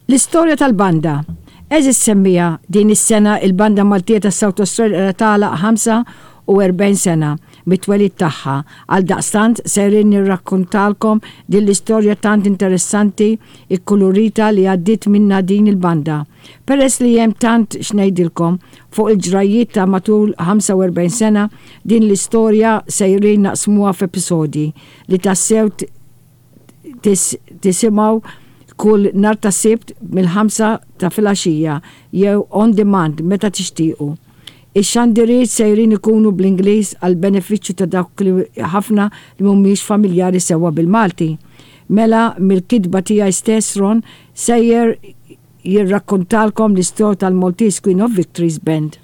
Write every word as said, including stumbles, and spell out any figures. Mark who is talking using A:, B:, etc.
A: L-istorja tal-banda. Għeżież semmiegħa, din is-sena il-Banda Maltija ta' South Australia tagħlaq ħamsa u erbgħin sena mit-twelid tagħha. Għaldaqstant sejrin nirrakkontalkom din l-istorja tant interessanti, ikkulurita, li għaddiet minna din il-banda. Peress li hemm tant x'ngħidilkom fuq il-ġrajiet ta' matul ħamsa u erbgħin sena, din l-istorja sejrin naqsmuha f'episodji li tassew tisimgħu kull nhar ta' Sibt mill-ħamsa ta' filgħaxija jew on demand meta tixtiequ. Ix-xandiriet sejrin ikunu bl-Ingliż għal benefiċċju ta' dawk li ħafna li mhumiex familjari sewwa bil-Malti. Mela mill-kitba tiegħi stess, Ron sejjer jirrakkontalkom l-istorja tal-Maltese Queen of Victories Band.